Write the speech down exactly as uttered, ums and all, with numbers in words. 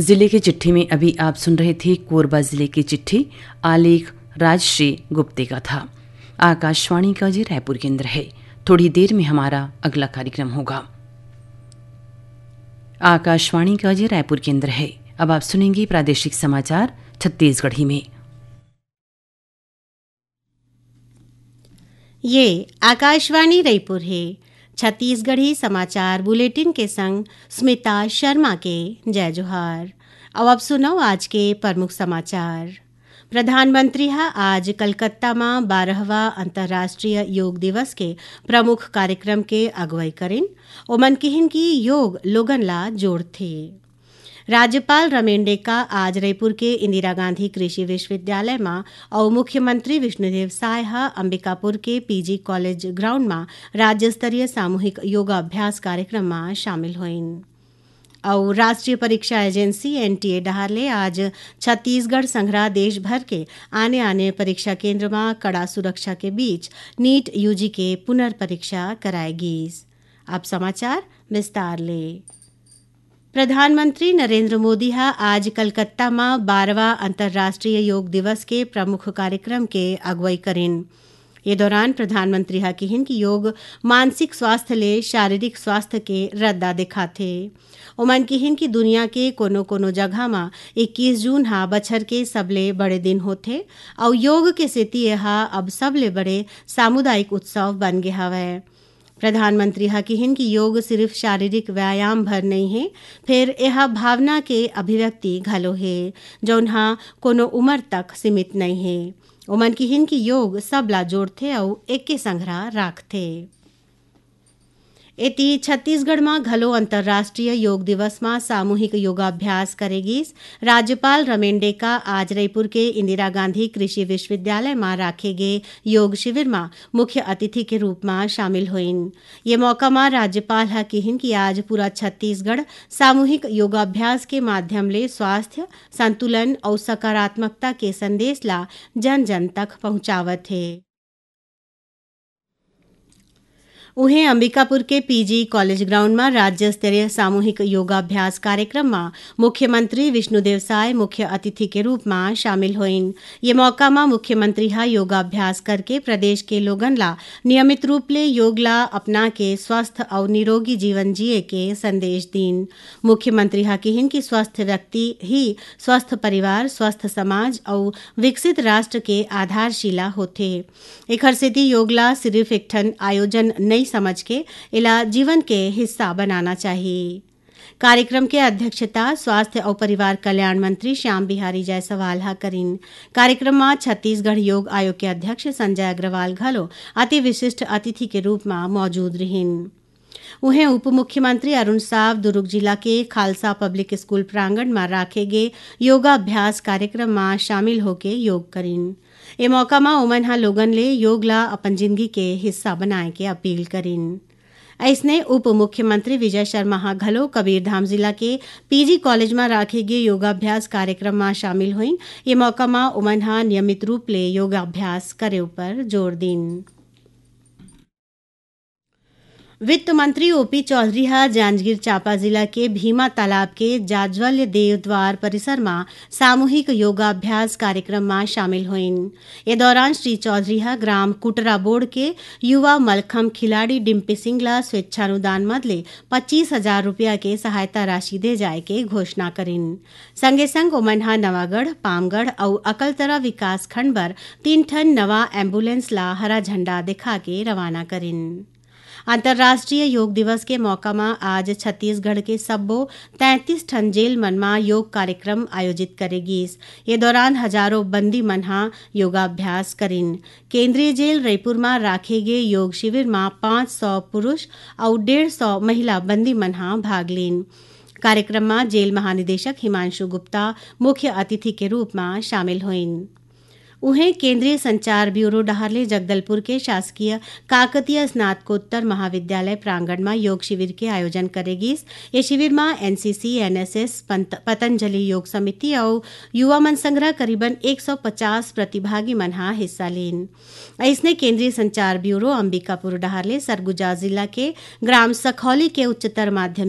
जिले की चिट्ठी में अभी आप सुन रहे थे कोरबा जिले की चिट्ठी, आलेख राजश्री गुप्ते का था। आकाशवाणी का ये रायपुर केंद्र है। थोड़ी देर में हमारा अगला कार्यक्रम होगा। आकाशवाणी का ये रायपुर केंद्र है। अब आप सुनेंगे प्रादेशिक समाचार छत्तीसगढ़ी में। ये आकाशवाणी रायपुर हे। छत्तीसगढ़ी समाचार बुलेटिन के संग स्मिता शर्मा के जय जोहार। अब आप सुनव आज के प्रमुख समाचार। प्रधानमंत्री ह आज कलकत्ता म बारहवाँ अंतर्राष्ट्रीय योग दिवस के प्रमुख कार्यक्रम के अगुवाई करिन। ओमन किहिन कि योग लोगन ला जोड़थे। राज्यपाल रमेन डेका आज रईपुर के इंदिरा गांधी कृषि विश्वविद्यालय म अउ मुख्यमंत्री विष्णुदेव साय ह अंबिकापुर के पीजी कॉलेज ग्राउंड म राज्य स्तरीय सामूहिक योगाभ्यास कार्यक्रम म शामिल होइन। अउ राष्ट्रीय परीक्षा एजेंसी एनटीए डहार ले आज छत्तीसगढ़ संघरा देश भर के आने-आने परीक्षा केंद्र म कड़ा सुरक्षा के बीच नीट यूजी के पुनर्परीक्षा कराए गीस। अब समाचार विस्तार ले। प्रधानमंत्री नरेंद्र मोदी ह आज कलकत्ता म बारहवाँ अंतर्राष्ट्रीय योग दिवस के प्रमुख कार्यक्रम के अगुवाई करिन। ये दौरान प्रधानमंत्री ह किहिन कि योग मानसिक स्वास्थ्य ले शारीरिक स्वास्थ्य के रद्दा देखाथे। ओमन किहिन कि दुनिया के कोनो-कोनो जगह म इक्कीस जून ह बछर के सबले बड़े दिन होथे, अउ योग के सेती एहा अब सबले बड़े सामुदायिक उत्सव बन गे हवय। प्रधानमंत्री ह किहिन कि योग सिरिफ शारीरिक व्यायाम भर नइ हे, फेर एहा भावना के अभिव्यक्ति घलो हे, जउन ह कोनो उमर तक सीमित नइ हे। ओमन किहिन कि योग सबला जोड़थे अउ एके संघरा राखथे। एती, छत्तीसगढ़ म घलो अंतर्राष्ट्रीय योग दिवस म सामूहिक योगाभ्यास करे गीस। राज्यपाल रमेन डेका आज रईपुर के इंदिरा गांधी कृषि विश्वविद्यालय म राखे गे योग शिविर म मुख्य अतिथि के रूप म शामिल होइन। ये मौका म राज्यपाल ह किहिन कि आज पूरा छत्तीसगढ़ सामूहिक योगाभ्यास के माध्यम ले स्वास्थ्य, संतुलन अउ सकारात्मकता के संदेश ला जन-जन तक पहुंचावत हे। उहें, अंबिकापुर के पीजी कॉलेज ग्राउंड म राज्य स्तरीय सामूहिक योगाभ्यास कार्यक्रम म मुख्यमंत्री विष्णुदेव साय मुख्य अतिथि के रूप म शामिल होइन। ये मौका म मुख्यमंत्री ह योगाभ्यास करके प्रदेश के लोगन ला नियमित रूप ले योग ला अपना के स्वस्थ अउ निरोगी जीवन जिए के संदेश दीन। मुख्यमंत्री ह किहिन कि स्वस्थ व्यक्ति ही स्वस्थ परिवार, स्वस्थ समाज अउ विकसित राष्ट्र के आधारशिला होथे। एखर सेती योग ला सिरिफ एक ठन आयोजन नइ समझ के एला जीवन के हिस्सा बनाना चाही। कार्यक्रम के अध्यक्षता स्वास्थ्य अउ परिवार कल्याण मंत्री श्याम बिहारी जायसवाल ह करिन। कार्यक्रम म छत्तीसगढ़ योग आयोग के अध्यक्ष संजय अग्रवाल घलो अति विशिष्ट अतिथि के रूप म मौजूद रिहिन। उहें, उप मुख्यमंत्री अरुण साव दुर्ग जिला के खालसा पब्लिक स्कूल प्रांगण म राखे गे योगाभ्यास कार्यक्रम म शामिल होके योग करिन। ए मौका म ओमन ह लोगन ले योग ला अपन जिनगी के हिस्सा बनाए के अपील करिन। अइसने, उप मुख्यमंत्री विजय शर्मा ह घलो कबीरधाम जिला के पीजी कॉलेज म राखे गे योगाभ्यास कार्यक्रम म शामिल होइन। ये मौका म ओमन ह नियमित रूप ले योगाभ्यास करे उपर जोर दीन। वित्त मंत्री ओपी चौधरी ह जांजगीर चांपा जिला के भीमा तालाब के जाज्वल्य देव द्वार परिसर म सामूहिक योगाभ्यास कार्यक्रम म शामिल होइन। ए दौरान श्री चौधरी ह ग्राम कुटराबोड़ के युवा मलखम खिलाड़ी डिम्पी सिंह ल स्वेच्छानुदान मद ले पच्चीस हजार रुपया के सहायता राशि दे जाय के घोषणा करिन। संगे संग ओमन ह नवागढ़, पामगढ़ अउ अकलतरा विकास खंड बर तीन ठन नवा एम्बुलेंस ला हरा झंडा दिखा के रवाना करिन। अंतर्राष्ट्रीय योग दिवस के मौका म आज छत्तीसगढ़ के सब्बो तैंतीस ठन जेल मन म योग कार्यक्रम आयोजित करे गीस। ये दौरान हजारों बंदी मन ह योगाभ्यास करिन। केंद्रीय जेल रईपुर म राखे गे योग शिविर म पाँच सौ पुरुष अउ डेढ़ सौ महिला बंदी मन ह भाग लीन। कार्यक्रम म जेल महानिदेशक हिमांशु गुप्ता मुख्य अतिथि के रूप म शामिल होइन। उहें, केंद्रीय संचार ब्यूरो डहार ले जगदलपुर के शासकीय काकतीय स्नातकोत्तर महाविद्यालय प्रांगण म योग शिविर के आयोजन करे गीस। ये शिविर म एनसीसी, एनएसएस, पंत-, पतंजलि योग समिति अउ युवा मन संघरा करीबन एक सौ पचास प्रतिभागी मन ह हिस्सा लीन। अइसने, केंद्रीय संचार ब्यूरो अंबिकापुर डहार ले सरगुजा जिला के ग्राम सखौली के उच्चतर माध्यमिक